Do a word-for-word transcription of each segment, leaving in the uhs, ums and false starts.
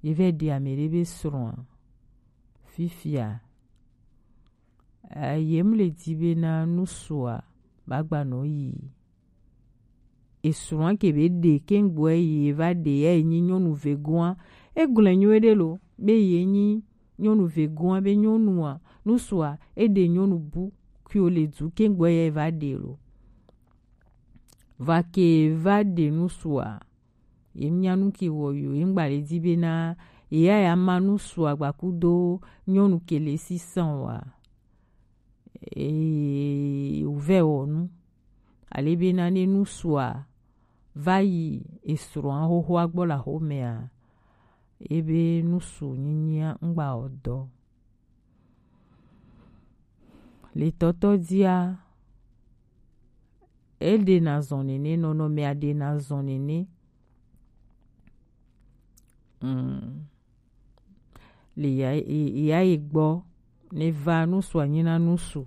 ye vɛ ɖe amɛ ɖe be srɔ̃a. Fifia, eh, ye mu le di be na nusua ba gba nɔ yi. Esrɔ̃a ke be ɖe kengboɛ ye va ɖe ya ye nyi nyɔnu vegoa. Egblɔe nyuie ɖe lo be ye nyi nyɔnu vegoa be nyɔnua, nusua, e ɖe nyɔnu bu ke wo le du kengboɛ ya ye va ɖe lo. Va ke va ɖe nusua. Ye mia nu ke wɔ yo, ye ŋgba le di be na ye ya ya ma nusua gba kudo nyɔnu ke le sisan wa. Ee, wòvɛ wɔ nu. Ale bena ne nusua va yi esrɔ̃a xoxoa gbɔ le axomea, ebe nusu nyinyia ŋgba wɔ dɔ. Le tɔtɔ dia, eɖena zɔ nene, nɔnɔmea ɖena zɔ nene. Mm. Le ya, ya yi gbɔ, ne va nusu anyi na nusu.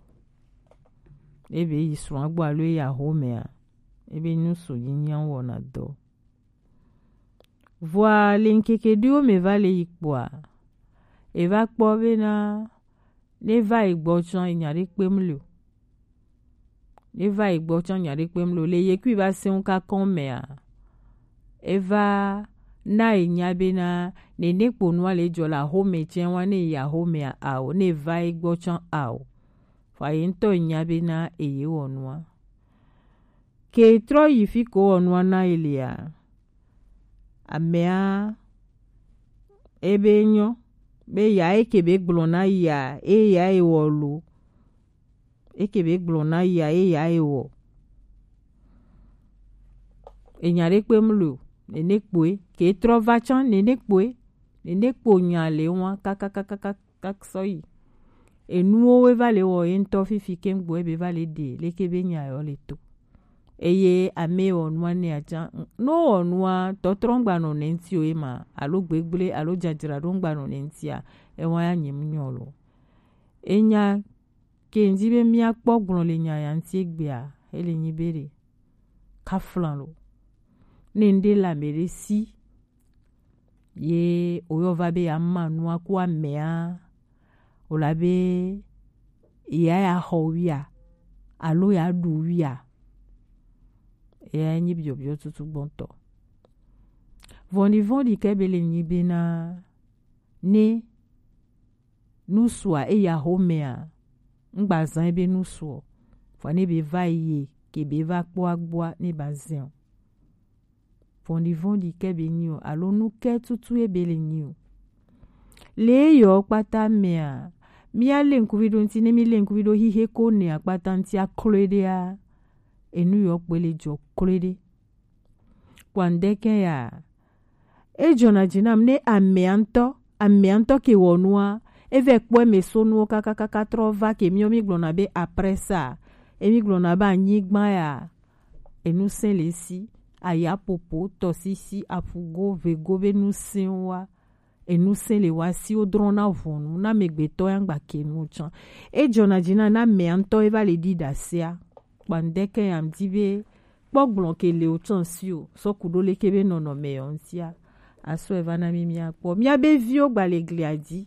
Ebe yi srɔ̃a gbɔ alo yi axomea, ebe nusu nyinyia wɔna dɔ. Vɔa le ŋkeke ɖewo me va le yi kpɔa, e va kpɔ bena ne va yi gbɔ tsã enya ɖe kpem le o. Ne va yi gbɔ tsã enya ɖe kpem le o. Le ye kui va sɛ̃ ŋu kakɔn mea, e va na ye nya bena nene kpo nua le dzɔ le axome tsɛ wa ne yi axomea ao, ne va yi gbɔ tsã ao. Vɔa ye ŋutɔ enya bena eye wɔ nua. Ke trɔ yi fi ko wɔ nua na ye lea, amea ebe nyɔ be ya eke be gblɔ na ya, e ya e wɔ lo. Eke be gblɔ na ya, e ya e wɔ. Enya ɖe kpem le o, nene kpoe, ke trɔ va tsã, nene kpoe, nene kpo nya le wa, kakakakaka. Kaka sɔ yi. Enuwo we va le wɔ ye ŋutɔ fifi kengbo ebe va le ɖe leke be nya yɔ le to. Eye ame wɔ nua ne atsã, no wɔ nua tɔtrɔ ŋgba nɔ ne ŋuti o ema, alo gbegble, alo dzadzra ɖo ŋgba nɔ ne ŋutia, ewa ya nyem nyɔ lo. Enya ke ŋdi be mia kpɔ gblɔ le nya ya ŋuti egbea, ele nyi be ɖe kaflan lo. Ne ŋɖe le ame ɖe si, ye woyɔ va be ya ma nua ku amea, o la be ya ya xɔ wia, alo ya ɖu wia. Eya nyi biɔbiɔ tutu gbɔntɔ. Vɔnɖivɔnɖi ke be le nyi be na ne nusua eya xomea, ŋgba zã ebe nusuɔ, vɔ ne be va yi ke be va kpɔ agbɔa ne ba zɛn o. Vɔnɖivɔnɖi ke be nyi o, alo nu ke tutu ebe le nyi o. Le eyɔ kpata mea, mia le ŋkuvi ɖo ŋuti, ne mi le ŋkuvi ɖo xixe ko ne akpata ŋuti aklo ɖea, enu yɔ kpoe le dzɔ klo ɖe. Kpɔa ŋdɛkɛ ya, ejɔna dzi nam ne amea ŋutɔ, amea ŋutɔ ke wɔ nua, evɛ kpɔ eme so nuwo kakakaka trɔ va ke miɔ mi gblɔna be après ça, emi gblɔna be anyigba ya, enu sɛ̃ le si, ayapopo, tɔsisi, aƒugo, vego be nu sɛ̃ wa. Enu sɛ̃ le wa si wodrɔ̃na ʋɔnu na amegbetɔ ya ŋgba ke nu tsã. Ejɔna dzi na na amea ŋutɔ eva le ɖi ɖasea. Kpɔa ŋdɛkɛ ya ŋdi be kpɔ gblɔ ke le o tsã si o, sɔ ku ɖo leke be nɔnɔme yɔ ŋutia. Asɔe va na mi mia kpɔ. Mia be viwo gba le glia dzi.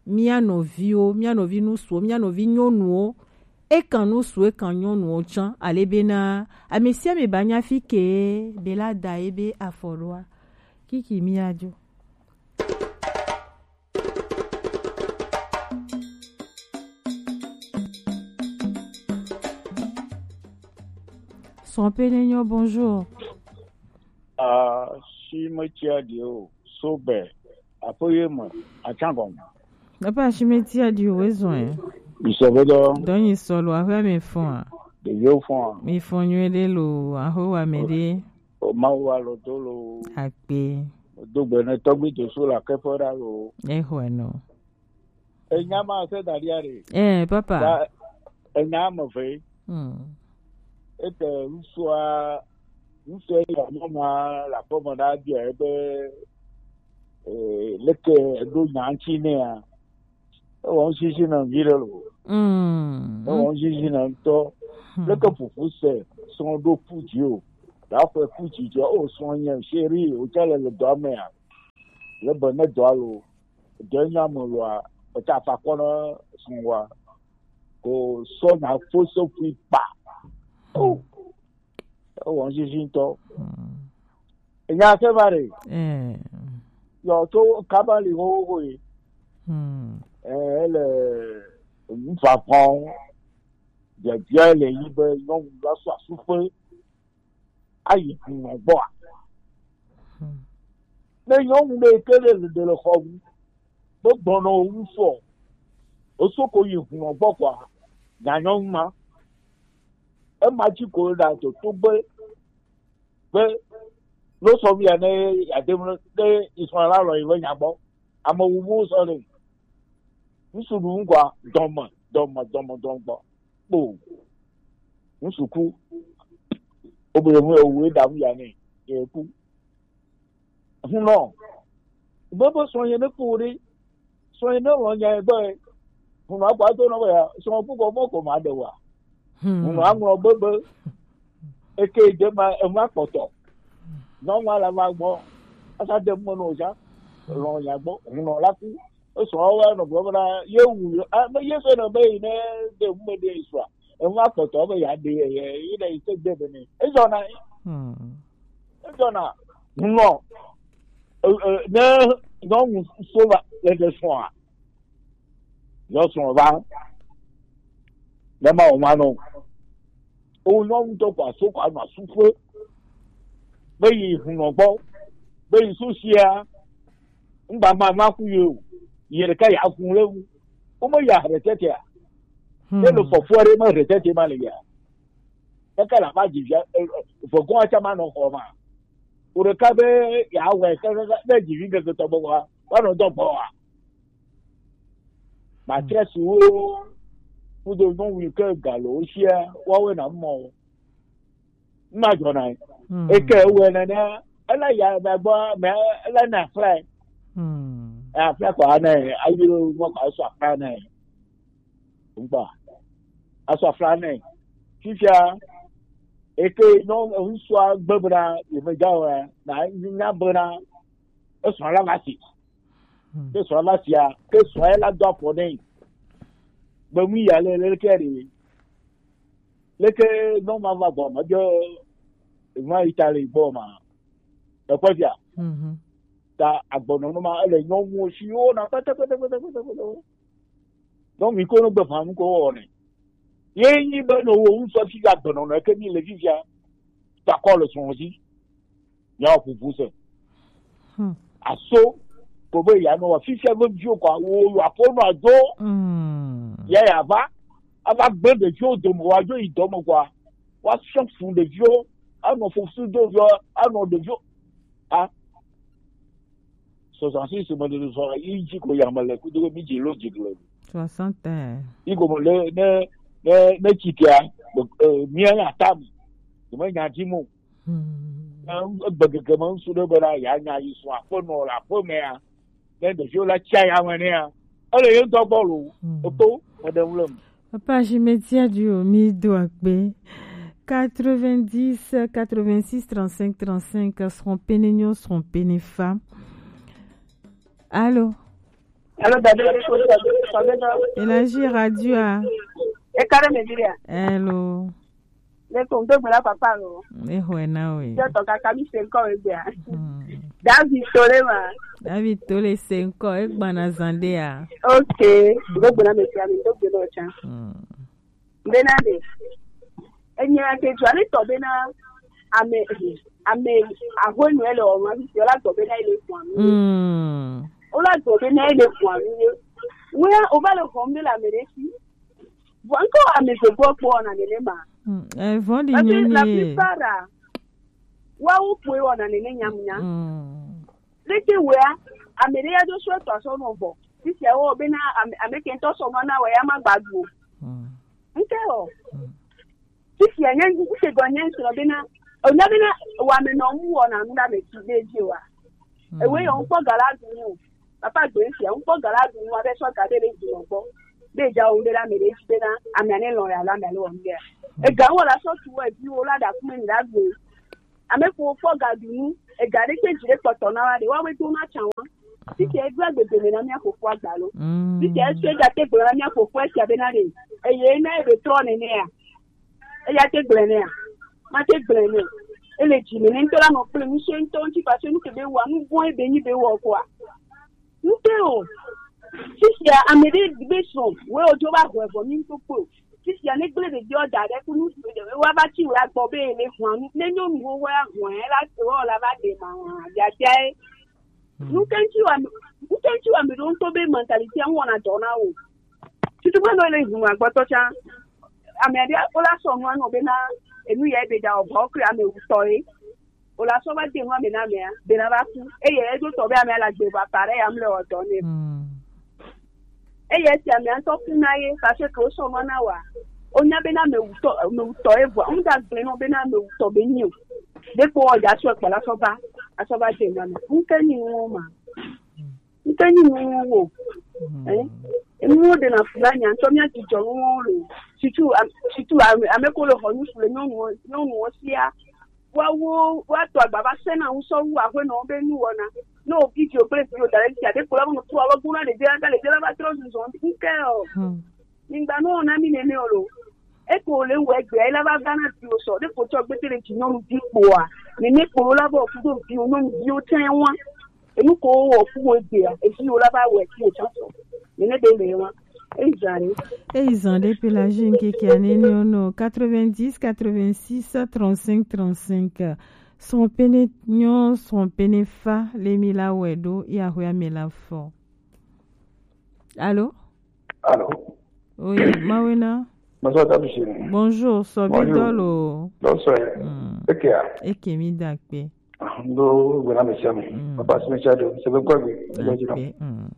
Mia nɔviwo, mia nɔvi nusuwo, mia nɔvi nyɔnuwo. Ekan nusu, ekan nyɔnuwo tsã. Ale bena, ame sia ame ba nya fi ke be la da ye be afɔ ɖoa. Kiki mia dzo. Son Penenyo, bonjour. Ah, si me tia di o, so be, apo ye me, atsangon. Papa, si me tia di o, ezɔn. Isɔbɔdɔ. Dɔnyi sɔlɔ, ahwe mi fɔn. Ɖeviwo fɔn. Mi fɔn nyuie ɖe lo, ahwe wa mi ɖe. O Mawu wa lo do lo. Akpe. Do gbe ne tɔgbi Jesu la ke fɔ ɖa lo. Exɔe nɔ. Enya ma se da ɖia ɖe. Eh, papa. Da, enya me ve. Hmm. Ete ŋusua, ŋusua ya nyɔnua la kpɔ me ɖa bia ebe, eh, leke eɖo nya ŋuti nɛa. Ewɔ ŋsisi na vi ɖe lo. Mm. Ewɔ ŋsisi na ŋutɔ. Hmm. Leke ƒoƒu se srɔ̃ ɖo ku dzi o. Ɖaƒe ku dzi dzi o srɔ̃ nye chéri o tsa le le dɔa mea. Le be ne dɔ alo, dɔ nya me loa, eta fa kɔ na sunwa. Ko sɔ na fo so fi pa. Oh, e wɔ sisi ŋutɔ. Enya se va ɖe. Eh. Yɔ to kaba li ho ho ye. Hmm. Eh, ele nufafan. Biabia le yi be nyɔnu la sɔ asuƒe ayi hunɔ gbɔa? Hmm. Ne nyɔnu ɖe ke le ɖe le xɔ ŋu, be gbɔnɔ wo ŋu fɔ, wosoko yi hunɔ gbɔ kɔa, nya nyɔnu ma. Ema dzi ko ɖa toto be, be, lo sɔ via ne yade ne Israel alɔ yi be nya gbɔ. Ame wu mu sɔ le. Ŋsu ɖu ŋgɔa, dɔme, dɔme, dɔme, dɔme gbɔ. Kpo. Ŋsu ku. Wo be mu ewu e da mu ya ne. Ye ku. Hunɔ. Be be sɔ ye ne ku ɖe. Sɔ ye ne lɔ nya ye gbɔ ye. Hunɔ akɔ ato nɔ be ya. Sɔ ku kɔ mɔ ko ma de wa. Hmm. Hunɔ aŋlɔ be be. Eke de ma, ema kpɔtɔ. Nyɔnu ala va gbɔ. Asa de mu no ja. Lɔ nya gbɔ. Hunɔ la ku. Esɔ wa nɔ gbɔ na ye wu. A, be ye se na be ne de mu de isra. Ema kpɔtɔ be ya de ye, ye, ye de ise de be ne. Ezɔ na. Hmm. Ezɔ na. Hunɔ. E, e, ne nyɔnu so va le de sɔa. Yɔ srɔ̃ va. Ne ma wò ma nɔ. O nyɔnu tɔ kɔ aso kɔ anɔ asuƒe. Be yi hunɔ gbɔ. Be yi susia. Ŋgba ma ma ku ye o. Yi ɖeka ya kun le wu. Wo me ya retetea. Hmm. Ne le fɔfɔ ɖe me retete ma le ya. Kaka la va dzi via. Vɔgɔn atsa ma nɔ xɔ ma. O ɖeka be ya wɔ kaka ne dzi vi ŋkeke tɔ be wa. Wa nɔ dɔ gbɔ wa. Matrɛsiwo kudo nyɔnu yi ke gale wo sia, woawoe na mɔ wo. Ema dzɔna ye. Mm. Eke ewɔe nene, ele ya me gbɔ, me ele na fly. Mm. Afla kɔ ane, ayi ɖo mɔ kɔ sɔ afla ne. Ŋkpa. Asɔ afla ne. Fifia, eke nyɔ, ŋutsua gbe bena, yemedza o ya, na nya bena, esɔ la va si. Hmm. Ke sɔ la sia, ke sɔ la do afɔ nɛ. Be mu ya le, le ke ɖe. Leke nɔ ma va gbɔ, ma dzo, ma yi ta le gbɔ ma. Ekpɔ fia. Mhm. Ta agbɔnɔnɔ ma, ele nyɔnuwo si wo na pɛtɛpɛtɛpɛtɛpɛtɛ. Donc, mi ko no gbe fa mu ko wɔ ne. Ye nyi be no wo ŋutɔ fi ga gbe nɔ ne ke mi le fifia. Ta kɔ le sɔn si. Ya ƒoƒu se. Hmm. Aso ko be ya no wa fifia be viwo ko wo yo aƒo no adzo. Hmm. Ya ya va. Ava gbe ɖeviwo dome wa dzo yi dɔme kɔa. Wa sɔ fu ɖeviwo. Anɔ fosu do viwo. Anɔ ɖeviwo. A. Soixante-six me de sɔ yi dzi ko ya me le kudo mi dzi lo dzi le. Soixante. Yi ko le ne ne ne tsitia. Eh, mi ya tam. Me nya dzi mo. Hmm. Ne egbe gege me ŋsu ɖe be la ya nya yi sɔ aƒenɔ le aƒemea. Ne ɖeviwo la tsia ya me nea. Ele ye ŋutɔ gbɔ lo. Hmm. Oto me ɖe ŋu le me. Papa Jimetia Dio, mi do akpe. Quatre-vingt-dix, quatre-vingt-six, trente-cinq, trente-cinq, seront pénénions, seront pénéfa. Allô? Allô, Dadou, Dadou, Dadou, Dadou. Élargir radio, ah. E kare me dire. Hello. Le ko ndo gbela papa lo. E ho e na we. Je to kaka mi se ko e bia. Hmm. David Tole ma. David Tole se ko e gbana zande a. Okay. Ndo gbela me sia mi ndo gbela cha. Hmm. Bena de. Enye ake jwale to bena ame, ame ahonu ele o ma yo la to bena ile kwa. Hmm. O la to bena ile kwa. Wo ya o ba le hom de la meresi. Vɔ ŋkɔ ame gbogbo kpɔ wɔna nenema. Mm, eh, vɔ̃ɖi. Parce que la plupart, ah, woawo kpoe wɔna nene nyamunya. Mm. Leke wea, ame ɖe ya do so etɔ asɔ nɔ vɔ. Sisia wo bena ame, ame ke ŋutɔ sɔ nɔ na wɔ ya ma gba du o. Mm. Ŋke o. Mm. Sisia nye, ŋke gɔ nye ŋsɔ bena, o nya bena, wa me nɔ mu wɔna nu ɖe ame ti ɖe dzi wa. Mm. Ewe yɔ ŋkpɔ gala du nu. Papa gbe sia, ŋkpɔ gala du nu, abe sɔ ga ɖe le du nɔ gbɔ. Be dza wo ɖe la me ɖe dzi bena, ame ane lɔ ya la me le wɔm ɖe. Mm. Ega wo la sɔ tu wo eviwo la ɖa kume mi la gbe. Ame ko kpɔ ga du nu, ega ɖe kpe dzi ɖe kpɔtɔ na wa ɖe, wa we do na tsa wa. Fifia edo agbegbe me na mia fofo agba lo. Mm. Fifia esu ega te gblɔ na mia fofo esia be na ɖe. Eye na ebe trɔ nene ya. Eya te gblɔ nea. Ma te gblɔ ne. Ele dzi me ne ŋutɔ la nɔ kple ŋusẽ ŋutɔ ŋuti parce que nu ke be wa nu vɔ̃ ebe nyi be wɔ kɔa. Ŋutɔ o. Fifia ame ɖe be srɔ̃ wo odzo va hɔe vɔ mi ŋutɔ kpo. Fifia ne gblẽ ɖeviwo da ɖe ku nu si ɖe wa va tsi wla gbɔ be ele hɔa nu ne nyɔnuwo wa hɔe la wɔ la va ɖe ma hɔa biabia ye. Ŋutɔ ŋuti wa ame ɖewo ŋutɔ be mentality ŋu wɔna dɔ na wo. Tutu be no le ŋu agbɔtɔ tsã. Ame aɖe wo la sɔ nua nɔ bena enu ya ebe da ɔbɔ kple ame wutɔ ye. Wo la sɔ va de nua me na amea bena va ku. Eye edo tɔ be amea la gbe ba pare ya mle ɔdɔ ne. Eye esi amea ŋutɔ ku na ye parce que wo sɔ nua na wa. Wonya bena ame wutɔ ame wutɔ ye vɔa. Ŋu da gblẽ nɔ bena ame wutɔ be nyi o. Ɖekpo wɔ dza sɔ ekpɔ la sɔ va asɔ va de nua me. Ŋke nyi ŋu ma. Ŋke nyi nuwo wo. Eh? Enuwo ɖe na fula nya ŋutɔ mía dzidzɔ nuwo lo. Situ am- situ ame ame ko le xɔ nusu le nyɔnuwo nyɔnuwo sia. Woawo woato agba va se na ŋusɔ wu aƒenɔwo be nuwɔna. Ne wo video kple video da ɖe fia ɖe ko la ŋu trɔ alo gona ɖevia ga ɖevia la va trɔ zuzɔ ŋke o. Migba nɔ na mi nene o lo. Eko le wɔ egbe la va va na viwo sɔ ɖe ko tsɔ gbete le dzi nyɔnu vi kpoa. Nene kpo la bɔ kudo viwo nyɔnu viwo tɛ wa. Enu ko wɔ ku wo egbea eviwo la va wɔ ku wo tsɔ sɔ. Nene be le wa. Ezare. Eyi zan ɖe pe la ju nkeke anene ono quatre-vingt-dix quatre-vingt-six trente-cinq trente-cinq. Srɔ̃ pene nyɔ srɔ̃ pene fa le mi la wɛ ɖo ya hwe ame la fɔ. Allô? Allô? Oui, Mawena. Bonsoir, Tabu Chéri. Bonjour, Sobi Bonjour. Dolo. Bonsoir. Hmm. Eke ya? Eke mi dakpe. Ndo gbena me sia me. Hmm. Papa si me sia do. Se be kwa gbe. Ndo jina. Dakpe. Hmm.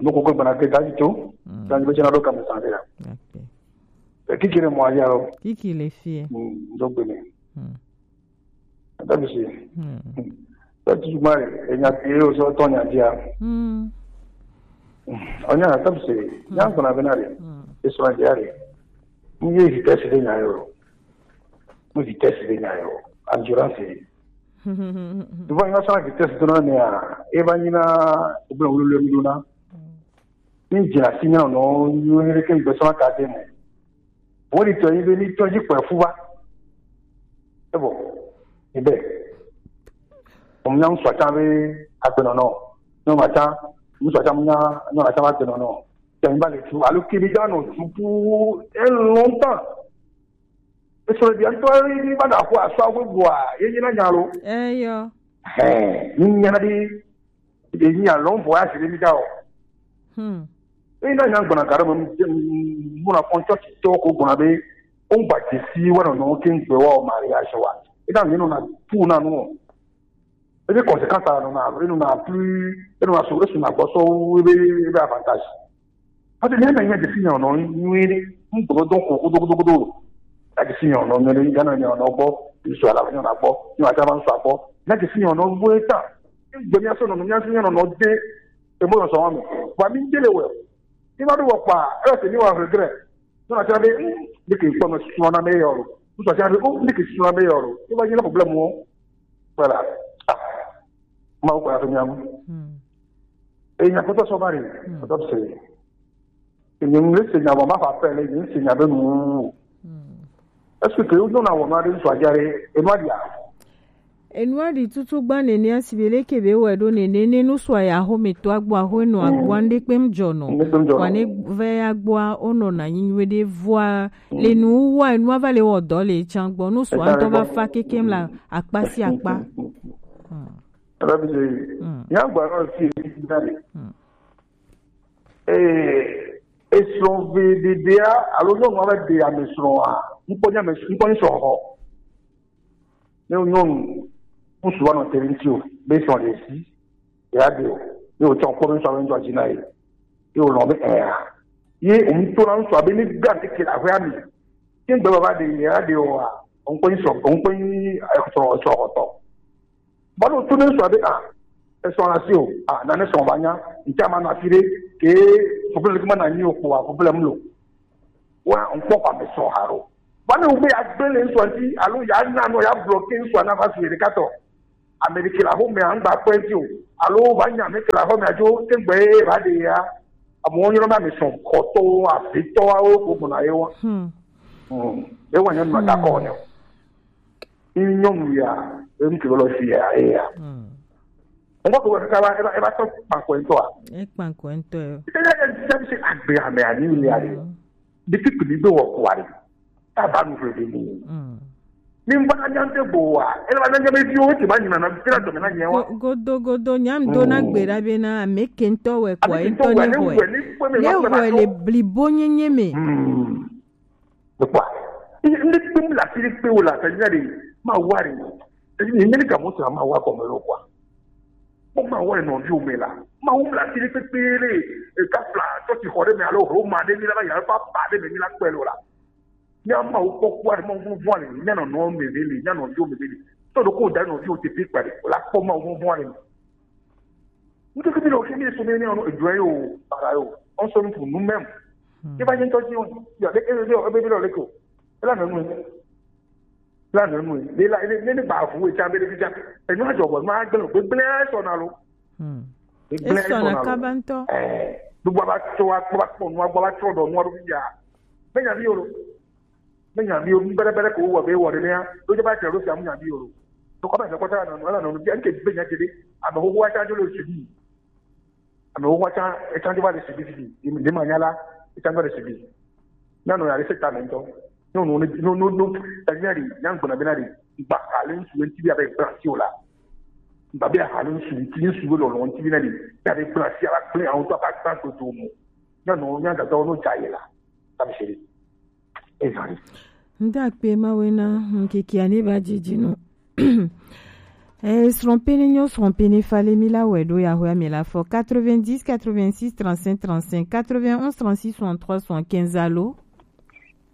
Ndo ko ko gbena ke ta to. Hmm. Ta ni be jina do ka me sa de ya. Dakpe. E kiki le mo ya ro. Kiki le fie. Hmm. Ndo gbene. Hmm. Tabisi. Tati mari enya ti yo so to nya dia. Onya tabisi. Nya ko na bena re. Eso na dia re. Mu ye vitesse de nya yo. Mu vitesse de nya yo. Endurance. Ivo nya sa vitesse de no ne a. E ba ni na o bla wulu le mi na. Ni jina si nya no yo ni ke gbe so ka de mo. Wo di tɔ yi be ni tɔ yi kpɛ fu va. Ebo. Ebe. Mo nya ŋsua tsa be agbenɔnɔ. Nyɔnu atsa, ŋsua tsa mo nya nyɔnu atsa be agbenɔnɔ. Tɛ mi ba le tu alo kiri da nɔ tu pu e longtemps. Esɔ le bia ŋtɔ yi ba da ko asɔ awo bua ye yi na nya lo. Eyo. Hɛ, ni nya di Eyi alɔ voyage ɖe mi da o. Hmm. Eyi na nya gbɔna ga ɖe me mu na kɔn tsɔ titɔ ko gbɔna be o ŋgba dzesi wa nɔnɔ ke ŋgbe wa o mariage wa. Eda mi nɔna tu na nu o. Ebe conséquence a nɔna e nɔna plus e nɔna so e suna gbɔ sɔ wu ebe ebe avantage. Parce que ne me nya dzesi nya nɔ nyuie ɖe ŋgbe dɔ ko kodo kodo kodo. Ya dzesi nya nɔ nyuie ɖe Ghana nya nɔ gbɔ ŋsu ala nya nɔ gbɔ nya ta ma ŋsu agbɔ. Ya dzesi nya nɔ gbɔ eta. Gbe mía sɔ nɔnɔ mía sɔ mía nɔnɔ de emo nɔ sɔn mi. Wa mi de le wɛ. Mi ma do wɔ kpa e se mi wa regret. So na tira be ni ke kpɔ me sɔ na me yɔ lo. So tira be o ni ke sɔ na me yɔ lo. E ba yi na problème o. Voilà. Ah. Ma ko ya to mía mu. Hmm. E nya ko to so bari. Hmm. Ko to se. Èmi ń lé sènyà bọ̀ má fà pẹ́ lé èmi ń sènyà bẹ́ẹ̀ nù. Est-ce que yóò dún àwọn ọmọdé ń sọ àjáre? Èmi á di à. Enua ɖi tutu gba nene asi be leke be wɔ ɖo nene ne nusua ya ho me to agbo aho no agbo ande kpem jɔ no. Wa ne ve agboa ono na nyi nyuie ɖe voa le nu wa enua va le wɔ dɔ le tsan gbɔ nusua ŋutɔ va fa kekem la akpa si akpa. Ela bi de. Ya gba no si da le. Ee, esrɔ̃ veɖeɖea alo nyɔnua va ɖe ame srɔ̃a, ŋkpɔ nye ame ŋkpɔ nye srɔ̃xɔ. Ne nyɔnu ŋutsu va nɔ te ɖe ŋuti o, be srɔ̃ ɖe si, ya ɖe o, ye wòtsɔ ŋkpɔ be ŋutsua be ŋutsua dzi na ye, ye wòlɔ̃ be ɛa, ye wòŋutɔ na ŋutsua be ne gbe ŋkeke le aƒea me, ke ŋgbe baba ɖe ya ɖe oa, ŋkpɔ nye srɔ̃ ŋkpɔ nye srɔ̃ srɔ̃xɔtɔ. Bɔlu tu ne sɔ be a esɔ la si o a na ne sɔ ba nya nti a ma na fi de ke fɔfɔlɔ ke ma na nyi o ko a fɔfɔlɔ mu lo wa n kpɔ ko ame sɔ ha ro ba ne wo be ya gbe le nsɔ nti alo ya na no ya bloquer nsɔ na va su yɛ ɖeka tɔ Ame ɖe ke le axomea, ŋgba kpɔe dzi o. Alo va nya ame ke le axomea dzo, te ŋgbe ye va ɖe ya. Amewo nyɔna be ame sɔn kɔtɔwo, avitɔwo, ko gbɔna ye wa. Hmm. Hmm. Ye wa nyɔnu na da kɔ ne o. Ni nyɔnu ya, enu ke lɔ si ya, ye ya. Hmm. Ŋgɔ ko kaka va, eva, eva tɔ kpankɔ ŋutɔ a. E kpankɔ ŋutɔ yo. Ite ya, ya, ya, se agbe ame ani ni ya de. Hmm. Ɖekpekpe mi be wɔ kua ɖe. Ta ba nu ƒle ɖe ni. Mm. Mi ŋgba na nya ŋte gbo wa. Ele va na nya be viwo te ma nyina na te na dɔme na nya wa. Go- godo godo nyam do na Mm. gbe ɖa be na ame ke ŋutɔ wɛ kɔ Ame ke ŋutɔ ŋutɔ wɛ ne ne wɛ wɛ ne kpɔe me ne ma kpɔe ma wɛ tɔ. Le blibo nyenye me. Mm. Ekpɔa. Ŋde kpe mu la fi ɖe kpe wo la ta nya ɖe ma wa ɖe. Eyi ni meli ka mo sra ma wa kɔme lo kwa. Kpɔ ma wa nɔ viwo me la. Ma wo mla fi ɖe kpekpe le. Eka fla tɔ ti xɔ ɖe me alo Roma ɖe mi la va ya fa ba ɖe me mi la kpɛ lo la. Nya ma wo kpɔ kwa ɖe ma wo vɔn le. Nya nɔ nɔ me me le. Nya nɔ viwo me me le. Tɔ ɖo ko da nɔ viwo te pe kpa ɖe. La kpɔ ma wo vɔn le. Ŋkeke bi le o fi mi le so mi ne ɔnu edua yo para yo. On sonne pour nous-mêmes. Hmm. Ke ba je ŋutɔ dzi o. Ya le ele le o ebe bi le o le ko. Ele na nu. Ele na nu. Le la le le ba fu e tsa be le bi tsa. Enu adzɔ bɔ ma gbe gbegble sɔ na lo. Hmm. Gbegble Esɔ sɔ na na lo. Kaba ŋutɔ. Eh, gbogbo ba tso wa kpɔ ba kpɔ nu wa gbɔ ba tso dɔ nu wa ɖo fi ya. Be nya bi yo lo. Ne nya mi o, nu bɛrɛbɛrɛ ko wɔ be wɔ ɖe nɛa, ɖo dze ba tse ɖo sia mu nya mi o. To kɔ bɛ se kɔta na nu, ala na nu, bi anke be nya tse ɖe, ame xoxo wa tsa dzo le subi. Ame xoxo wa tsa, etsa dzo va le subi subi. Ne ma nya la, etsa dzo va le subi. Na nɔ ya le se ta me ŋutɔ. No, no, no, no, no. Ta nya ɖi, nya ŋgbɔna be na ɖi. Gba ha le ŋsu ŋuti bi abe gblasi o la. Gba be ha le ŋsu ŋuti, ŋsu be lɔlɔ ŋuti bi na ɖi. Ya be gblasi ala gblẽ awo to aba gba to to mo. Nya nɔ, nya dada wo no dza ye la. Ta mi se ɖi. Ezali. Ndakpe mawe na nkiki ane ba jiji no. Eh, srɔ̃ pene nyo, srɔ̃ pene fale mi la wɛ ɖo ya hwe mi la fɔ quatre-vingt-dix, quatre-vingt-six, trente-cinq, trente-cinq, quatre-vingt-onze, trente-six, soixante-trois, soixante-quinze, allô?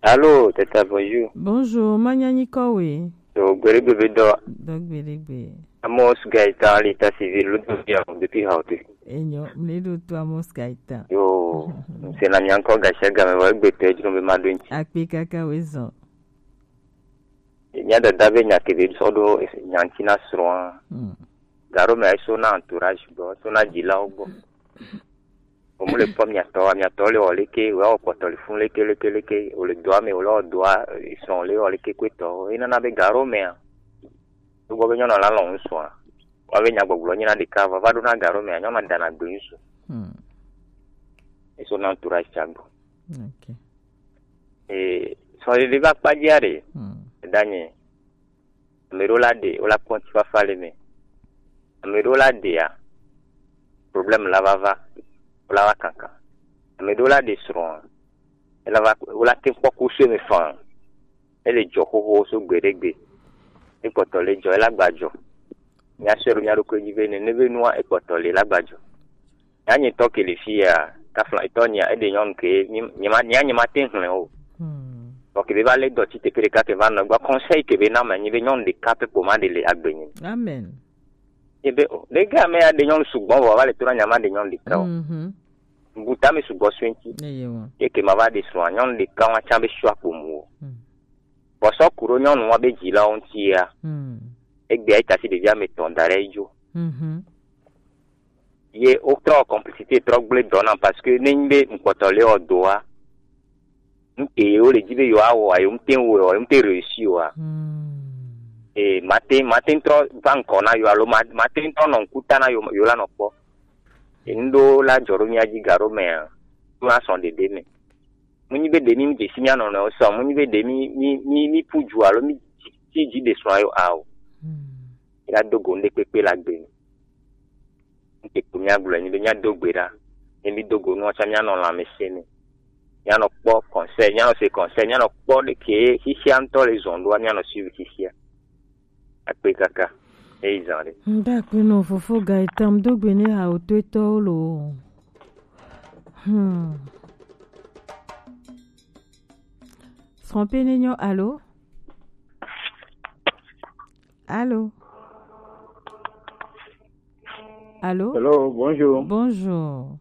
Allô, tata, bonjour. Bonjour, manyanyi kowe. So, gbere gbebe do. Do gbere gbe. Amos Gaëtan, l'état civil, le dossier depuis Haute. Enyo, mle do to Amos Gaëtan. Yo, c'est la mianko gacha game wa gbe te dro be ma do nti. Akpe kaka we zɔn. Nya dada be nya ke be sɔ ɖo nya ŋuti na srɔ̃a. Mm. Garo me eso na entourage gbɔ, so na dzilawo gbɔ. Wo mu le kpɔ miatɔ, miatɔ le wɔ leke, wo wɔ kpɔtɔ le fun leke, leke, leke, wo le doa me, wo le wɔ doa, eh, srɔ̃ le wɔ leke kpetɔ. Enana be garo mea, gbɔ be nyɔnu la lɔ ŋusua. Wa be nyagbɔgblɔ nyina ɖeka, vava ɖo na garo mea, nyɔnu dana gbe ŋusu. Hmm. Eso na entourage tsa gbɔ. Ok. Eh, srɔ̃ɖeɖe va kpadzia ɖe, Hmm. Danye. Ame ɖewo la ɖe, wo la kpɔ ŋutifafa le me. Ame ɖewo la ɖea, problème la va va, wo la va kankan. Ame ɖewo la ɖe srɔ̃a, ela va, wo la te kpɔ kusu me faa. Ele dzɔ xoxo so gbe ɖe gbe. Ekpɔtɔ le dzɔ, ela gba dzɔ. Mía sɔe ɖo mía ɖokui dzi be nene be nua ekpɔtɔ le la gba dzɔ. Ya nye tɔ ke le fi ya, kafla etɔ nya, eɖe nyɔnu ke, nye, nye ma, nya nye ma te hlẽ o. Hmm. Vɔ ke be va le dɔ tsi teƒe ɖeka ke va nɔ gbɔ, conseil ke be na me nyi be nyɔnu ɖeka pe kpo ma ɖe le agbe nyi. Amen. Ye be, o, ɖe ga me ya ɖe nyɔnu sugbɔ vɔ, va le to na nya ma ɖe nyɔnu ɖeka o. Mhm. Bu ta me sugbɔ sue ŋti. Eye wa. Ye ke ma va ɖe srɔ̃a, nyɔnu ɖeka wa tsa be sua kpo mu o. Hmm. Vɔ sɔ ku ɖo nyɔnu wa be dzilawo ŋti ya. Hmm. Egbea eta si ɖevi ame tɔn da ɖe edzo. Mhm. Ye wotrɔ complicité trɔ gblẽ dɔ na, parce que ne nyi be ŋkpɔtɔ le wɔ doa, nu ke wo le dzi be yewoawɔa, yewo ŋte wɔe o, yewo ŋte réussi oa. Hmm. Ee, mate, mate ŋtrɔ va ŋkɔ na yo alo ma-, mate ŋtrɔ nɔ ŋkuta na yo, yo la nɔ kpɔ. Ee, nu ɖewo la dzɔ ɖo mía dzi ga ɖo mea, nu asɔ ɖeɖe me. Mu nyi be ɖe mi dzesi mía nɔnɔewo sɔ, mu nyi be ɖe mi, mi, mi, mi pu dzu alo mi dzi, dzi, dzi ɖe srɔ̃a yo ao. Hmm. Mía do go ŋɖe kpekpe le agbe me. Ŋke ko mía gblɔe nyi be mía do gbe ɖa. Ne mi do go nua tsã mía nɔ lãmesẽ me. Mía nɔ kpɔ conseil, mía nɔ se conseil, mía nɔ kpɔ ɖe ke xixia ŋutɔ le zɔn ɖoa, mía nɔ suivre xixia. Akpe kaka. Eyi zã ɖe. Ŋda akpe nɔ fofo ga etam do gbe ne ha o to etɔwo lo. Hmm. Srɔ̃ pe ne nyɔ, allô? Allô? Allô? Hello, bonjour. Bonjour.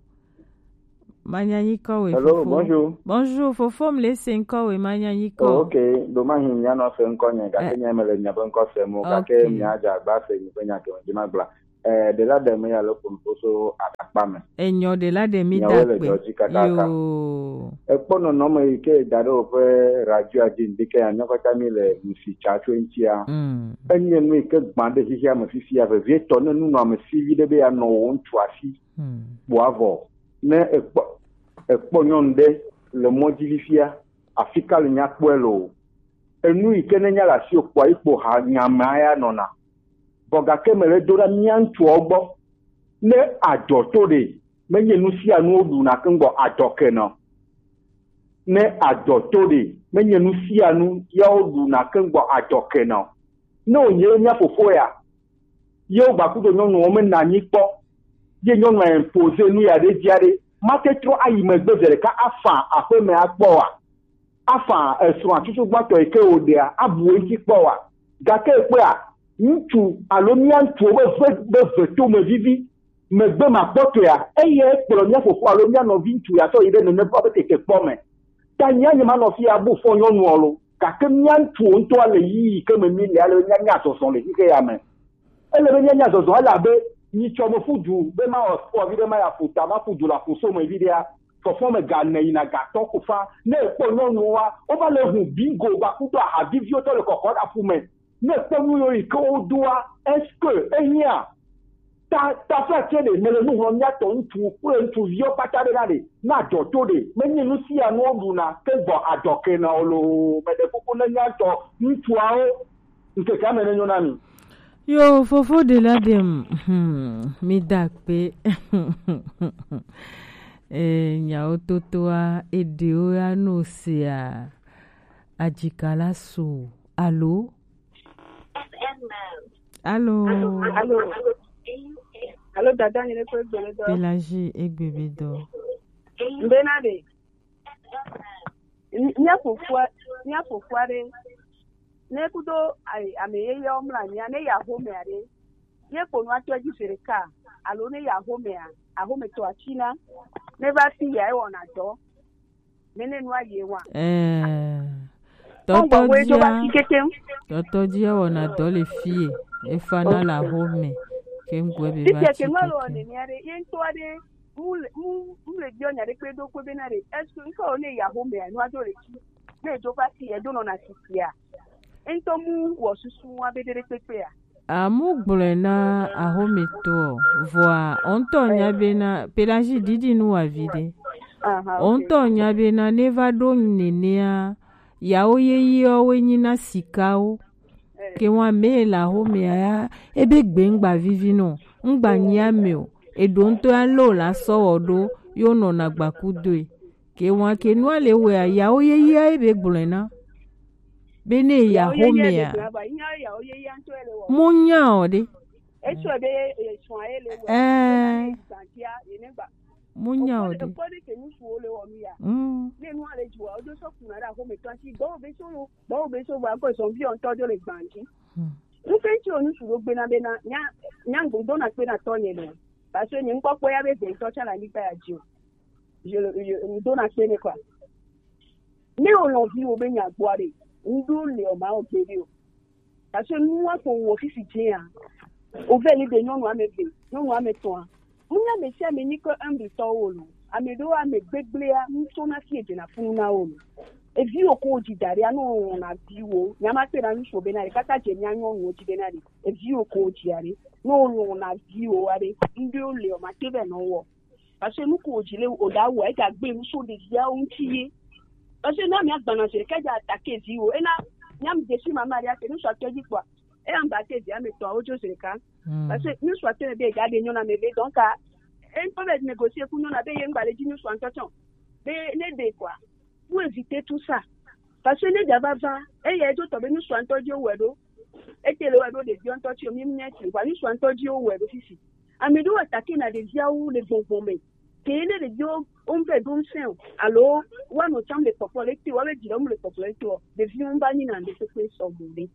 Manya nyikɔ we. Hello, fofo. Bonjour. Bonjour, fofo, mi le se ŋkɔ we, manya nyikɔ. Oh, ok, do ma hin nya no se ŋkɔ nye, gake eh, nya me le nya be ŋkɔ se mo, gake ok, mia dza gba se nyi be nya ke me dzi ma gbla. Eh, de la de me ya le kun foso akpa me. Enyo de la de mi. Nyawo da le pe. Dɔ dzi kakaka. Yo. Ekpɔ nɔnɔme yi ke da ɖe woƒe radio dzi ŋdi ke ya nyɔkɔta mi le nusi tsa tso ŋutia. Mm. Enye nu yi ke gbã ɖe xexea me fifia vevietɔ ne nunɔamesi vi ɖe be ya nɔ wo ŋutsu asi. Mm. Kpɔ avɔ. Ne ekpɔ, ekpɔ nyɔnu ɖe le mɔ dzi fifia, afi ka le nya kpɔe lo? Enu yi ke ne nya le asi o kpɔa, yi kpo ha nya mea ya nɔna. Vɔ gake mele do ɖa mía ŋutsuawo gbɔ. Ne adzɔ to ɖe, menye nu sia nu woɖuna keŋ gbɔ adzɔ ke nɔ. Ne adzɔ to ɖe, menye nu sia nu ya woɖuna keŋ gbɔ adzɔ ke nɔ. Ne wònye mía fofo ya, ye wogba kudo nyɔnuwo mena anyi kpɔ, ye nyɔnua impose nu ya ɖe dzi aɖe, mate trɔ ayi megbe zi ɖeka afa aƒeme akpɔ oa? Afa esrɔ̃a tutugbãtɔ yi ke wòɖea, abu wo ŋuti kpɔ oa? Gake kpea, ŋutsu alo mía ŋutsuwo be ve, be vetome vivi, megbe makpɔtɔea, eyae kplɔ mía fofo alo mía nɔvi ŋutsu ya sɔ yi ɖe nene va be tetekpɔ me. Ta nyea nye manɔ fi abu fɔ nyɔnuɔ lo, gake mía ŋutsuwo ŋutɔa le yiyi ke me mí le ale be mía nya zɔzɔ le xixe ya me. Ele be míanya zɔzɔ, elabe nyitsɔ me ƒu du be mawɔ sport vi ɖe, maya ƒu ta, maƒu du le aƒu so me vi ɖea, fɔfɔ me ga ne yina ga tɔ ko fa. Ne ekpɔ nyɔnuwoa, wova le hu bingo va kudo aha viviwo tɔ le kɔkɔ ɖe aƒu me. Ne ekpɔ nu yiwo yi ke wodoa, est-ce que ehiã? Ta, taflatse ɖe, mele nu hlɔ̃ mía tɔ ŋutsu kple ŋutsuviwo kpata ɖe na ɖe, na adzɔ to ɖe, menye nu sia nu woɖuna ke gbɔ adzɔ ke na wo loo. Meɖe kuku ne mía tɔ ŋutsuawo ŋkeke ame nenyo na mi. Yo, fofo ɖe la ɖem, hmm, mi da akpe. Eh, nyawo totoa, eɖewo ya no sea, adzika la so, alo? Alo? Alo? Alo, dada, nyine kwe gbele dɔ. Pelagie egbe be dɔ. Mbe na ɖe. Mía fofo, mía fofo aɖe, ne kudo ai-, ame yeye wo mla nyia, ne ya home aɖe, ye kpo nua tɔ dzi zi ɖeka, alo ne ya home a, ahome tɔ atsina, ne va fi ya ewɔna dɔ, ne ne nua ye wa. Eh, tɔtɔ dzia, tɔtɔ dzia wɔna dɔ le fie, efana le ahome, ke ŋgɔe be va tsi keke. Titi ke nua le wɔ nenia ɖe, ye ŋutɔ aɖe, mu le, mu, mu le biɔ nya ɖe kpe do kpe bena ɖe, est-ce que ŋkɔ ne ya home a, nua do le tsi, ne do va fi ya, do nɔna titi a, ŋutɔ mu wɔ susu wa be ɖe ɖe kpekpe a. Amu gblɔe na ahometɔ, vɔa ɔntɔ nya bena Pelagie didi nu wa vi ɖe. Aha, ok. Ɔntɔ nya bena ne va ɖo nenea, yawo yeyewo woe nyi na sikawo. Eh. Ke wa me le ahomea ya, ebe gbengba vivi nɔ, ŋgba nyi ame o, eɖo ŋutɔ ya lo la sɔ wɔ ɖo, yo nɔna gbakudoe. Ke wa ke nua le wea, yawo yeyea ye be gblɔe na. Be ne ya homea. Mo nya o ɖe. Etsɔ be esɔa ye le wɔ. Eh. Mo nya o ɖe. Ekpɔ ɖe ke ŋutsuwo le wɔ nu ya. Mm. Ne nua le dzua, wodo sɔ kuna ɖe ahometɔ si, gbɔwo be so lo, gbɔwo be so va kɔ zɔnvi ɔntɔ do le gbanji. Hmm. Ŋutsu ŋutsu wo ŋutsu ɖo gbena bena, nya, nya ŋgbo dona kpe na tɔ nye nɔ. Parce que nye ŋkpɔkpɔ ya be gbɛtɔ tsã le anyigba ya dzi o. Je le, je, ŋdona kpe nɛ quoi. Ne wò nɔviwo be nya gbɔa ɖe, ŋɖo le o ma o gbe ɖe o. Parce que nua ko wɔ fifi dzia, o vɛ li de nyɔnu ame eve, nyɔnu ame etɔ̃a. Ŋnya ame sia ame nyi ke humble tɔwo lo. Ame ɖewo ame gbegblẽa, ŋutɔ na fi edzena funu na wo lo. Eviwo ko dzi da ɖe, anɔ na viwo. Nya ma kpe na ŋutsu be na ɖe, kaka dze mía nyɔnuwo dzi be na ɖe. Eviwo ko dzi aɖe. Ne wò nɔ na viwo aɖe, ŋɖewo le o ma te vɛ nɔ wɔ. Parce que nu ko wòdzi le wòda wɔ, ega gbe nu so ɖeviawo ŋuti ye. Parce que ne amea gbana se ɖeka dza attaquer viwo, ena nyam desi mama ɖe ake nu so atɔ dzi kpɔa, eya ŋgba te via me tɔa wodzo se ɖeka. Mm. Parce que nu so atɔ be ega ɖe nyɔna me be, donc a, e ŋutɔ be négocier ku nyɔna be ye ŋgba le dzi nu so ŋutɔ tsɔ. Be ne ɖe quoi, pour éviter tout ça. Parce que ne dza va va, eya edzo tɔ be nu so ŋutɔ dzi wowɔe ɖo. Ete le wɔ ɖo ɖeviwo ŋutɔ tsi o, mi nya tsi, vɔa ŋutsu ŋutɔ dzi wo wɔe ɖo fifi. Ame ɖewo attaquer na ɖeviawo le gbɔngbɔn me. Ke ne ɖeviwo wo ŋvɛ ɖo ŋsɛ o, alo woanɔ tsam le kpɔkplɔ le te, woabe dzi le wo le kpɔkplɔ le te o, ɖeviwo ŋva nyi na ŋɖe kpekpe sɔ mo ɖe.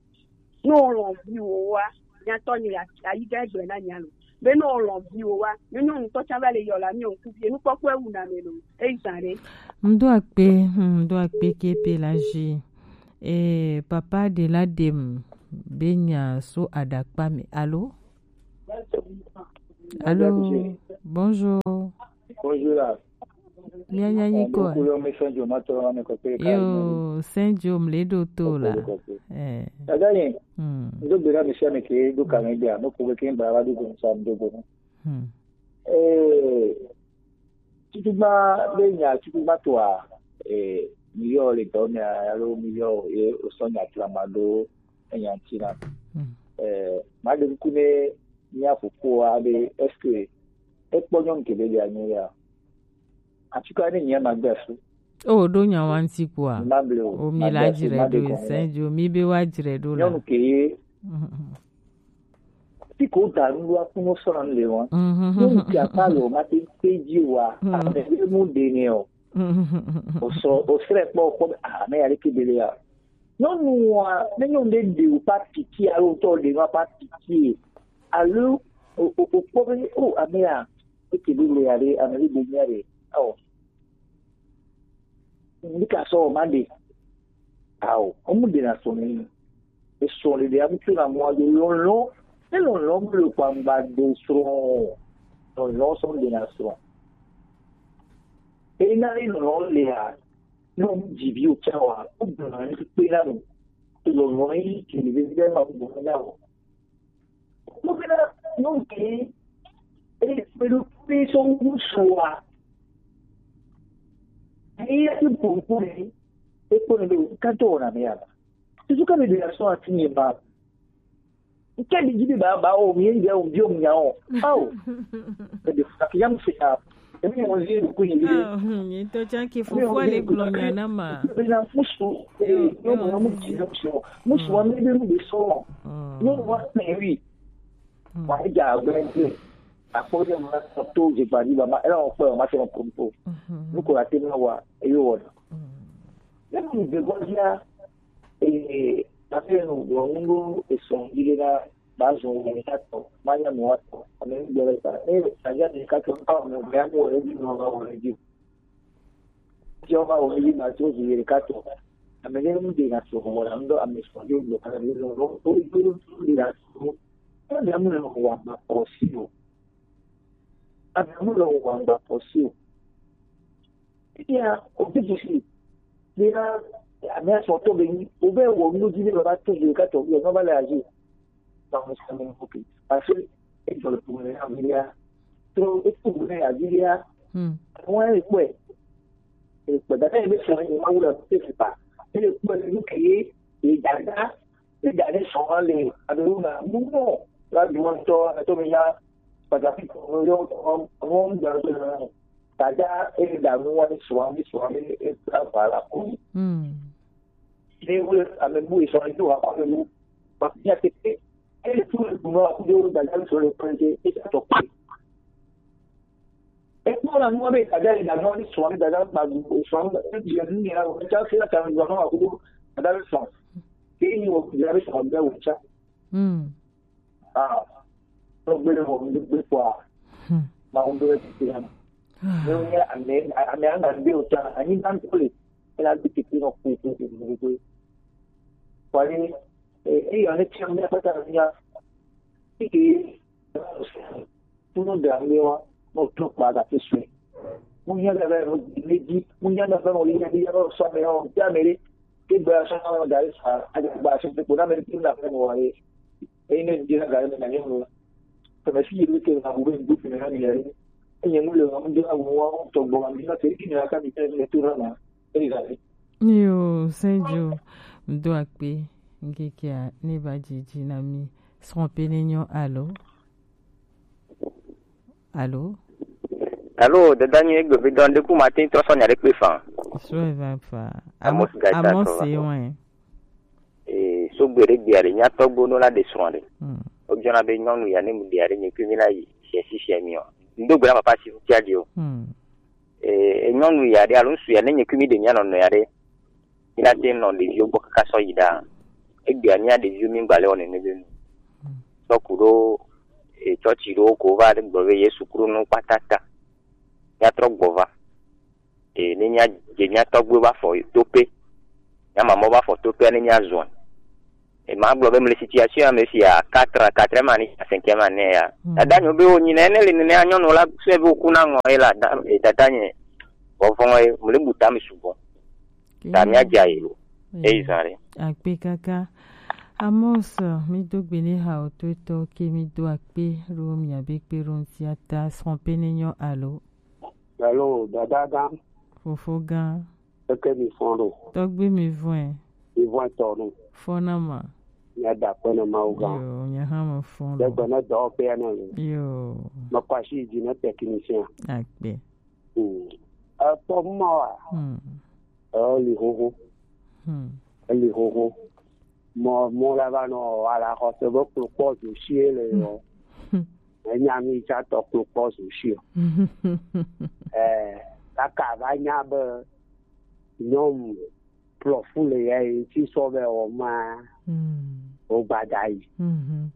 Ne wolɔ̃ viwò wa, nyatɔ nye ayi gã gblɔe na nya lo. Be no lɔn viwo wa, nyɔnu ŋutɔ tsa va le yɔ la mi ŋku vie nukpɔkpɔ ewu na me lo. Eyi zan ɖe. Ŋdo akpe, ŋdo akpe ke pe la ji. Eh, papa de la dem be nya so adakpa me. Allô? Allô? Bonjour. Bonjour là. Mia nya nyi ko. Yo, Saint Joe mle do to la. Eh. Dada yin. Hmm. Ndo bera mi sia mi ke do ka mi bia, no ko ke ba wa do go sa do go. Hmm. Eh, tutu ma be nya tutu ma to a, eh, mi yo le do mi a, lo mi yo, eh, o so nya tra ma do, eh, nya tina. Hmm. Eh, ma de ku ne nya fu ko a be, est-ce que e kpɔ nyɔnu ke be le anyi ya? Atsika ne nyia ma gbe asu. O ɖo nya wa ŋuti kua? Ma ble o. O mi la dzre ɖo ese dzo mi be wa dzre ɖo la. Nyɔnu ke ye. Ti ko da nu wa kuno sɔna le wa. Nyɔnu ke apa lo ma te te dzi wa. Ame be mu de ne o. O sɔ o srɛ kpɔ kpɔ be ah me ya le ke be le ya. Nyɔnu wa ne nyɔnu de de o pa piti alo tɔ de ma pa piti. Alo o o o kpɔ be o ame ya. Eke bi le ya ɖe, ame bi de mía ɖe. Ao. Ni ka sɔ ma ɖe. Ao, o mu ɖe na sɔ ni. E sɔ le ɖe, a mu tso na mɔ a do lɔlɔ. E lɔlɔ mu le kpangba do srɔ̃. Lɔlɔ sɔ ɖe na srɔ̃. E na e lɔlɔ le ya. No mu dzi vi o tsa wa. O gbɔna ni pe na no. Lɔlɔ yi kele be be ma gbɔna o. Mo bena nyɔnu ke e kpe ɖo kpe sɔ ŋusua. Eya ti gbogbo ɖe ekpɔ ne be o katɔ wɔna me ya ba. Tutu ka mi ɖe asɔ ati nye ba. Nke mi dzi be ba ba o mi ye o mi o mi nya o. Ao. Ebe funa ke ya mu se ya. Emi mo zi ku ni bi. Ah, hmm, yin to chan ki fofo le gblɔ nya na ma. Be na musu, eh, yo mo mo ti na musu. Musu wa mi be mu be so. Yo wa na wi. Wa ja gbe nte. Akpɔ ɖe ma sɔ to dze gba ɖi ba ma ela wɔkpɔ ma se ma pompo. Nu ko la te ma wa eyo wɔ. Ne mu dze gba dia, eh, ta fe nu gblɔ nu ɖo esɔ yi ɖe na ba zɔn wɔ mi ta tɔ ma nya mi wa tɔ ame nu gblɔ ɖe ta ne ta ja mi ka tɔ ka mi gbe ya mo wɔ ɖe dzi nɔ ma wɔ ɖe dzi. Jehovah wo yi ma to zi yere ka to. Ame ne mu de na to mo na ndo ame so jo lo ka ni lo lo o jo lo de na to. Ame mu lo wa ma ko si o. Ame mu lo wa ma ko si o. Iya, o bi ji si. Ni na ame so to be ni o be wo nu ji le ba to zi ka to yo no ba la ji. Ba mo sa me ko ki. Parce que e jo lo to me na mi ya. To e to me ya ji ya. Hmm. Wọ́n rí pẹ̀. Ìpẹ̀dá náà ẹgbẹ́ sọ̀rọ̀ yìí máa wúlò tó ti pa. Ilé pẹ̀ ló kì í ìdàgbà ìdàgbà sọ̀rọ̀ lè àdúró náà. Mú mọ̀ láti wọ́n tọ́ ẹ̀tọ́ mi yá pàtàkì kan lórí ọ̀rọ̀ ń gbà tó lọ. Dàda ìdààmú wọn ní sọ̀rọ̀ ní sọ̀rọ̀ ní àbàlà kú. Hmm. Ní wúlò àmì bú ìsọ̀rọ̀ yìí wà pàtó ní pàtàkì àti pé ẹni tó lè gbìmọ̀ àkúdé ó dàgbà sọ̀rọ̀ pẹ̀lú ìtàtọ̀ pé. Ekpɔ na nua be dada yi dada ni sɔn dada ma du sɔn ebi ni ya o ta se ta ni gɔnɔ akudo dada be sɔn ke ni o dada be sɔn be o cha. Hmm. Ah. No gbe le mo mi gbe kwa. Hmm. Ma o do e ti na. Ne o ya ame ame anga be o cha ani ban ko le. Ela bi ti no ku ku ku ku. Kwa ni e e yo ne ti ame pata ni ya. Ti ke Tunu da mi wa mo tun pa ga ti sue. Mo nya da ba mo ni di mo nya da ba mo ni di ya so me o ja me re. Ke ba so mo da sa a ga ba so ko na me ti na ba mo wa re. E ne di na ga me na ni mo. Ko me si ru ke na bu be bu me na ni re. E ye mo le mo de a mo wa to gbo mi na te ki na ka mi te me tu na. E ga re. Yo, Senjo, mdo akpe, ngekia, ne ba jiji na mi, srɔ̃ pe ne nyɔ alo. Alo? Alo, dada nyi egbe vi dɔn de ku ma tin trɔ sɔ nya de kpe fan. Sɔ eva fa. Amos Gaita Amos trɔ se va. Wen. Eh, so gbe de gbia de nya tɔgbo no la de srɔ̃ de. Hmm. O jona be nyɔnu ya ne mu dia de nyi kumi la yi. Sia si sia mi o. Ndo gbe la papa si tia di o. Hmm. Eh, e nyɔnu ya de alo ŋsu ya ne nyi kumi de nya nɔ nɔ ya de. Mina te nɔ ɖeviwo gbɔ kaka sɔ yi ɖa. Egbea mía ɖeviwo mi gba le wɔ nene be nu. Sɔ ku ɖo e, tsɔtsi ɖewo ko va gblɔ be Yesu klo nu kpatata. Míatrɔ gbɔ va. E, ne mía-, dze mía tɔgbuiwo va fɔ toƒe. Mía mamɔwo va fɔ toƒea ne míazɔe. E, magblɔ be mele situation ya me fia, quatre ans, quatrième année, cinquième année ya. Mm. Dada nyo be wonyi na ene le nene nyɔnu la sue be woku na ŋɔ ye la, da-, e, dada nye vɔvɔ̃ ye, mele bu tame sugbɔ. Ta míadze ayi lo. Eyi zã ɖe. Akpe kaka. Amos, mi do gbe ne ha o to etɔ ke mi do akpe ɖo mia be kpe ɖo ŋuti ata srɔ̃ pe ne nyɔ alo. Alo, dada gã. Fofo gã. Eke mi fɔn ɖo. Tɔgbi mi vɔe. Mi vɔe tɔ ɖo. Fɔna ma. Mia da akpe ne Mawu gã. Yo, nya hã me fɔn ɖo. Degbe ne dɔwɔƒea ne lo. Yo. Mekɔ asi yi dzi ne technicien. Akpe. Hmm. Ekpɔ mɔ wa. Hmm. Eli xoxo. Hmm. Eli xoxo. Mɔ, mɔ la va nɔ ala xɔse be kplokpɔ zo sie le yɔ. Hmm. Enya mi tsa tɔ kplokpɔ zo sie o. Eh, kaka va nya be nyɔnu plɔfu le ya yi tsi sɔ be wɔ ma. Hmm. O gbada yi. Mhm.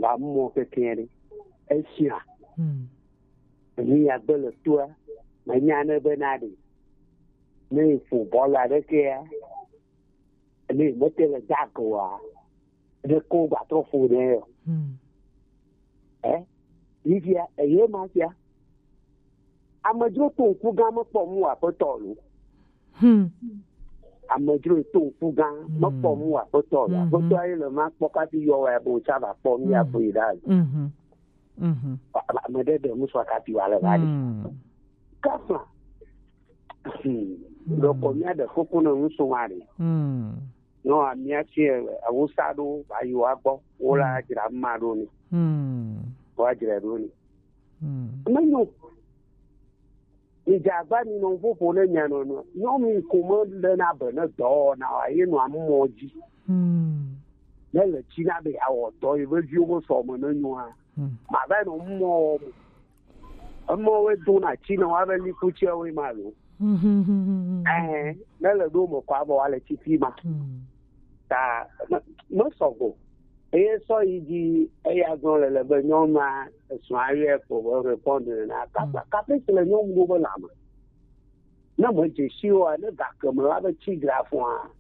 Va mɔ keke ɖe. Esia. Hmm. Enu ya gbe le toa, menya ne bena ɖe, ne ƒo bɔl aɖekea, ne mete le dag oa, ɖe ko gbatrɔ ƒo nɛ o. Hmm. Eh? Yi fia, eye ma fia. Amedzro to ŋku gã mekpɔ mu aƒetɔ lo. Hmm. Amedzro to ŋku gã mekpɔ mu aƒetɔ lo. Mhm. Aƒetɔ ye le ma kpɔ kafi yɔ wa bo tsa va kpɔ mi aƒe yi ɖa. Mhm. Mhm. Ame ɖe ɖe ŋusɔ kafi wa le va ɖi. Mm. Kafla. Hmm. Mm. Ɖeko mía ɖe koko ne ŋusɔ wa ɖi. Mm. Nɔ amia si awusa ɖo va yi wa gbɔ. Wo la dzra ma ɖo ni. Mm. Wa dzra ɖo ni. Mm. Menyo. Midze agba mi nɔ ƒoƒo ne mia nɔnɔ. Nyɔnu yi ko me le na be ne dɔwɔna wa ye nɔ amɔ dzi. Hmm. Ne le tsi na be awɔ dɔ yi veviwo be sɔ me ne nyoa. Hmm. Ma va nɔ mɔ wɔ mo. Emɔ we do na tsi na wa be liku tsia we ma lo. Hmm. Eh, ne le ɖo me kɔ abɔ wa le tsi fi ma. Hmm. Ta me, me sɔgɔ. Eye sɔ yi dzi eya gblɔ le le be nyɔnua esrɔ̃a yɔe ko be répondre na kapa. Mm. Kape si le nyɔnu ɖo be lãme. Ne medze si oa, ne gake me la be tsi gra fɔa.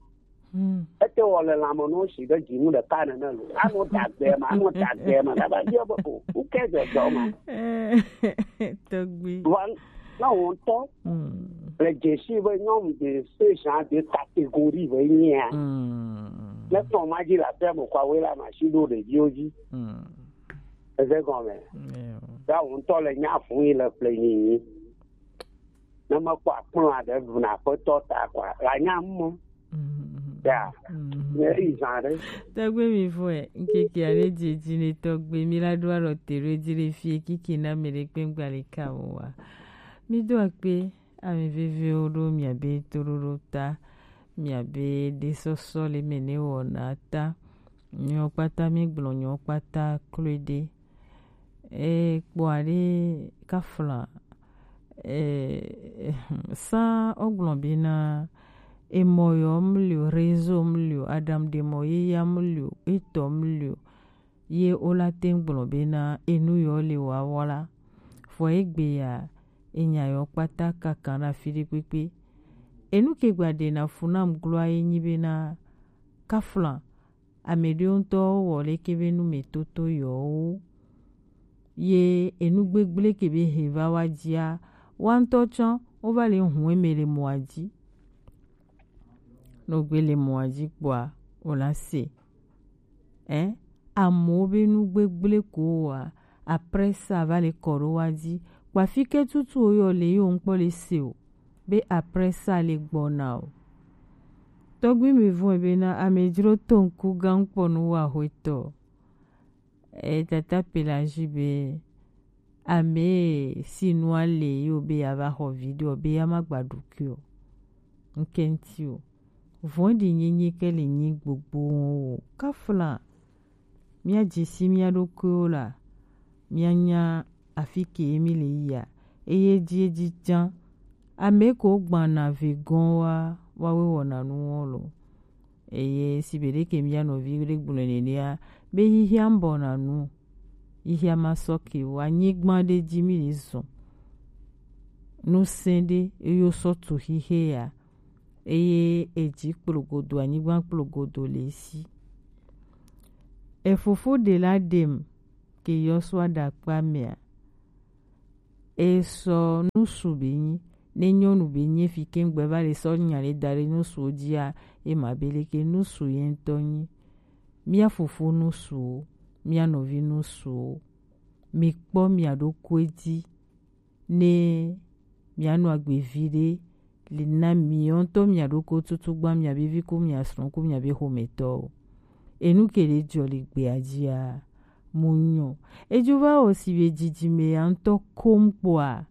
Mm. Ete wɔ le lãme no si be dzinu ɖeka nene lo. Anɔ dagbe ma, anɔ dagbe ma. Daba bia be o, who cares the dog ma? Tɔgbi. Vɔ, na wo ŋutɔ. Mm. Le dzesi be nyɔnu de station de catégorie be nyia. Mm. Ne tɔn ma dzi la fia mo kwa we la ma si ɖo ɖeviwo dzi. Mm. Eze gɔme. Yeah. Ya wo ŋutɔ le nya fun yi le ƒle nyinyi. Ne mekpɔ akplɔ aɖe vuna aƒetɔ ta kwa, la nya mɔ. Mhm. Ya. Mhm. Ne yi zã ɖe. Tɔgbe mi vɔe, ŋkeke aɖe dzi dzi ne tɔgbe mi la ɖo alɔ te ɖo edzi le fie kiki na me ɖe kpe ŋgba le ka o wa. Mi do akpe, ame veviwo ɖo miabe toɖoɖo ta, miabe ɖesɔsɔ le me ne wɔna ta. Nyɔ kpata mi gblɔ nyɔ kpata kloe ɖe. E kpɔa ɖe kafla, e, sa o gblɔ bena, emɔ yɔ mli o, réseau mli o, Adam ɖe mɔ ye ya mli o, etɔ mli o, ye o la te gblɔ bena, enu yɔ le wa wɔ la. Fɔ egbe ya, enya yɔ kpata kaka na fi ɖe kpekpe. Enu ke gba ɖe na fu nam gloa ye nyi bena, kafla, ame ɖewo ŋutɔ wɔ leke be nu me toto yewo. Ye enu gbegble ke be he va wa dzia, wa ŋutɔ tsã wo va le hu eme le mɔa dzi. Ne wogbe le mɔa dzi kpɔa, wo la se. Ɛ? Amewo be nu gbegble ko wa, après ça va le kɔ ɖo wa dzi. Kpa fi ke tutu wo yɔ le ye wo ŋkpɔ le se o. Be après ça le gbɔna o. Tɔgbi mi vɔe bena amedzro to ŋku gã kpɔ nu wa hwetɔ. E tata Pelagie be ame si nua le yo be ya va xɔ vi ɖe o, be ya ma gba ɖokui o. Ŋke ŋti o. Vɔ̃ɖi nyenye ke le nyi gbogbo o. Kafla. Míadze si mía ɖokuiwo la, míanya afi ke mí le yia, eye edzi edzi tsã, ame ko gbãna ve gɔ̃ wa, woawoe wɔna nuwo lo. Eye sigbe ɖeke mía nɔvi ɖe gblɔe nenea, be xixia ŋbɔna nu. Yihia ma sɔ ke o, anyigba ɖe ji mi le zɔn. Nusẽ ɖe eyo sɔ tu xixe ya. Eye eji kplogodo, anyigba kplogodo le si. Efofo ɖe la ɖem ke yɔ sɔ aɖakpa mea. E sɔ nusu be nyi, ne nyɔnu be nyi fi ke ŋgbe va le sɔ nya le da ɖe nusuwo jia, e ma be leke nusu ye ŋutɔ nyi. Mía fofo nusuwo, mía nɔvi nusuwo, mi kpɔ mia ɖokui dzi ne mianɔ agbe viɖe le na miɔ ŋutɔ mia ɖokui tutu gba mia be vi ku mia srɔ̃ ku mia be xometɔwo. Enu ke ɖe jɔ le gbea jia, mu nyɔ. Edzo va wɔ si be jijime ya ŋutɔ kom kpɔa,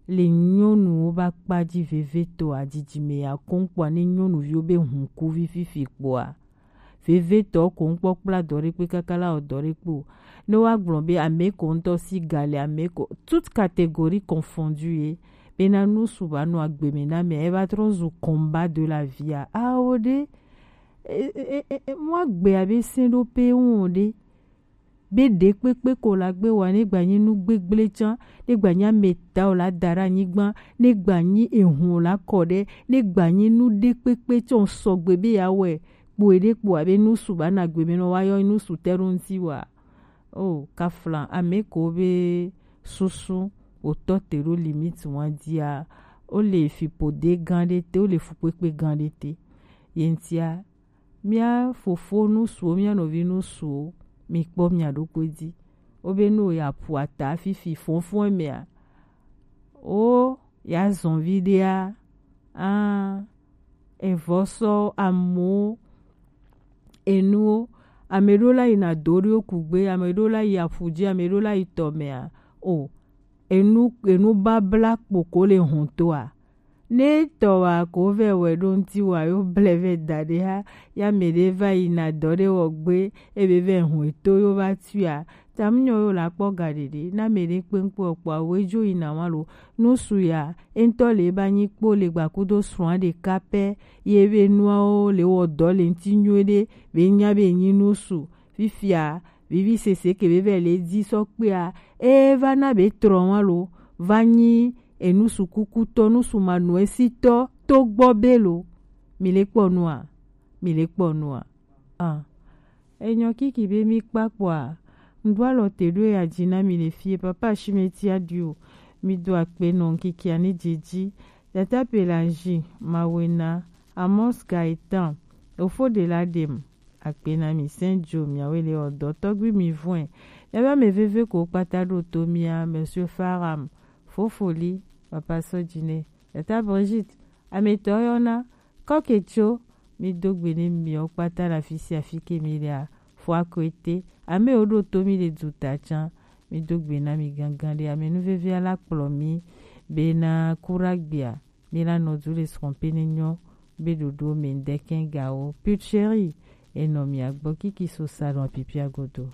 le nyɔnuwo ba kpa ji vevetɔa, jijime ya kom kpɔa, ne nyɔnuviwo be hunkuvi fifi kpɔa, vevetɔ ko ŋkpɔ kpla dɔ ɖe kpe kaka la wɔ dɔ ɖe kpe o. Ne woagblɔ be ame ko ŋutɔ si ga le ame ko, toute catégorie confondue ye, bena nusu va nɔ agbe me na ame, eva trɔ zu combat de la vie a. Awo ɖe, e, e, e, e, mu agbe abe sɛ̃ ɖo pe ŋu o ɖe. Be ɖe kpekpe ko la gbe wa, ne gba nyi nu gbegble tsã, ne gba nyi ame ta o la da ɖe anyigba, ne gba nyi ehun o la kɔ ɖe, ne gba nyi nu ɖe kpekpe tsɔ sɔgbe be ya wɛ kpo eɖe kpo abe nusu ba na gbe me nɔ wa yɔ nusu te ɖo ŋuti wa. O kafla ame ko be susu o tɔ te ɖo limite wa dia, o le fipo de gan ɖe te, o le fukpekpe gan ɖe te. Ye ŋutia, mía fofo nusuwo, mía nɔvi nusuwo, mi kpɔ mia ɖokui dzi. Wobe nu ya ƒu ata fifi fɔnfɔn mea, wo ya zɔn viɖea, a, evɔ sɔ amewo, enuwo, ame ɖewo la yina do ɖewo kugbe, ame ɖewo la yi aƒu dzi, ame ɖewo la yi tɔ mea, o, enu, enu babla kpoko le hɔn toa. Ne tɔ wa ko vɛ wɛ ɖo ŋuti wa yo blɛ vɛ da ɖe ha, ya mɛ ɖe va yi na dɔ ɖe wɔ gbe, ebe vɛ hɔn eto yo va tuia. Tam nyɔ yo la kpɔ ga ɖeɖe, na mɛ ɖe kpenkpe ɔkpɔ awo edzo yi na wa lo. Nusu ya, e ŋutɔ le ba nyi kpo le gba kudo srɔ̃a ɖeka pɛ, ye be nuawo le wɔ dɔ le ŋuti nyuie ɖe, be nya be nyi nusu. Fifia, vivi sese ke be vɛ le dzi sɔ kpea, e va na be trɔ wa lo, va nyi enu sukukutɔ, nu sumanuɛsitɔ to gbɔ be lo. Mi le kpɔ nua? Mi le kpɔ nua? Ah. Enyɔ kiki be mi kpakpɔa, ŋɖo alɔ te ɖo ya dzi na mi le fie, papa Shimeti Adio, mi do akpe nɔ ŋkikia ne dzi dzi, tata Pelangi, Mawena, Amos Gaetan, Ofo de la Dem, akpe na mi sɛn jo miawe le ɔdɔ tɔgbi mi vɔe. Yaba me veve ko kpata ɖo to mia, Monsieur Faram, Fofoli, papa Sɔdjine, tata Brigitte, ametɔ yɔna, kɔke tso, mi do gbe ne miɔ kpata la fisi afi ke mi lea, fo akoete, ame wo ɖo to mi le du ta tsã, mi do gbe na mi gangan ɖe, ame nu veve ala kplɔ mi, be na kura gbea, mi la nɔ du le srɔ̃ pe ne nyɔ, be ɖoɖo me ŋdɛkɛn gawo. Put chéri, enɔ mia gbɔ kiki so salon apipia godo.